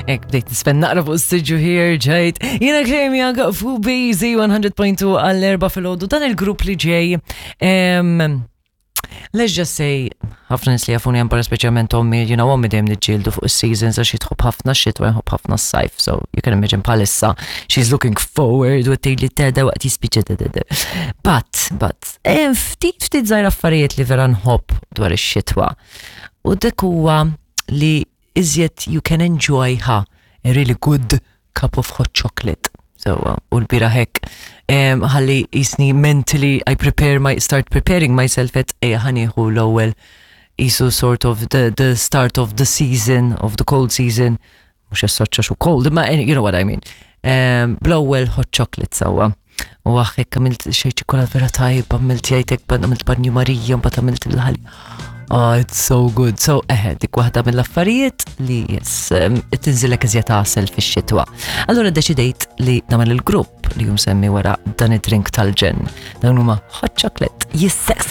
Ek bdejt nisfen naqra fuq s-siġu here ġejt. Jiena Claire Young fuq BZ 100.2 għall-erba filgħodu dan il-grupp li ġej. Let's just say, ħafna nis li jafuni għan barra speċjalment ommi, you know, ommi dejjem niġġieldu fuq is-seasons għax jitħobb ħafna xitwa jħobb ħafna s-sajf, so you can imagine bħalissa she's looking forward u tgħidli teda waqt jispiċċa teda. But, but, eh, ftit ftit żgħir affarijiet li vera nħobb dwar ix-xitwa. U dik huwa li iżjed you can enjoy ha a really good cup of hot chocolate. So, u l-bira hekk ħalli jisni mentally I prepare my start preparing myself at ejja ħanieħu l-ewwel isu sort of the, the start of the season of the cold season mhux as xu cold, ma you know what I mean. Bl-ewwel hot chocolate sewwa. U għaxek għamilt xej ċikola vera tajba, għamilt jajtek, għamilt banju Marija, mbagħad għamilt il-ħali. Oh, it's so good. So, eħe, dik waħda mill-affarijiet li yes, tinżilek iżjed għasel fix-xitwa. Allura deċidejt li nagħmel il-grupp li jum semmi wara dan id-drink tal-ġen. Dawn huma hot chocolate. Yes, sexy.